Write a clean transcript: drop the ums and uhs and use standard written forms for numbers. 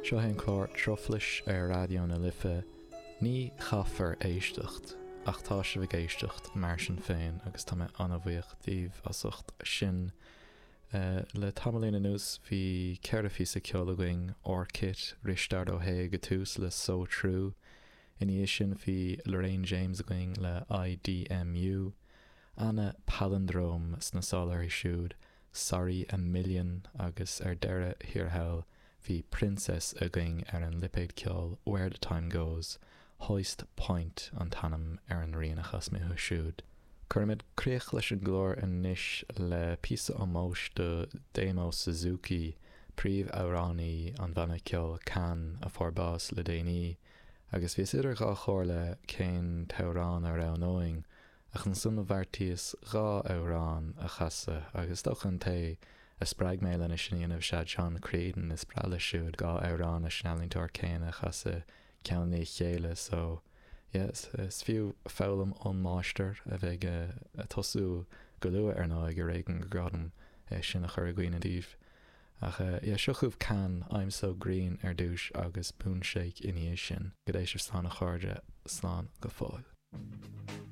Seo é an clár Truflais ar Raidió na Life. Ní chaithfear éisteacht, ach tá sibh ag éisteacht mar sin féin agus tá mé an-bhuíoch díbh as ucht sin. Le tamaillín anuas bhí 4 phíosa ceoil againn, Orkid, Risteard Ó hAodha ag an tús le So True, ina dhiaidh sin bhí Lorraine James againn le IDMU, Anna Palindrome sna sála uirthi siúd, Sorry a Million agus ar deireadh thiar thall bhí Princess againn ar an lipéad ceoil Where the Time Goes, Hoist Point an t-ainm ar an rian a chas mé uathu siúd. Cuirfimid críoch leis an gclár anois le píosa ómóis do Damo Suzuki, príomh-amhránaí an bhanna ceoil Can, a fuair bás le déanaí, agus bhíos idir dhá chomhairle cén t-amhrán a roghnóinn, Ach ansan do bheartaíos 2 amhrán a chasadh agus is dócha an té a spreag mé lena sin a dhéanamh is ea John Creedon, is breá leis siúd 2 amhrán leis an ealaíontóir céanna a chasadh ceann i ndiaidh a chéile so yeah is fiú foghlaim ón máistir a bheidh ag tosú go luath ar ndóigh ar éigean gur gá dom é sin a chur i gcuimhne daoibh. Ach yeah seo chugaibh Can, I'm So Green ar dtús agus Moonshake ina dhiaidh sin. Go dté sibh slán a chairde, slán go fóill.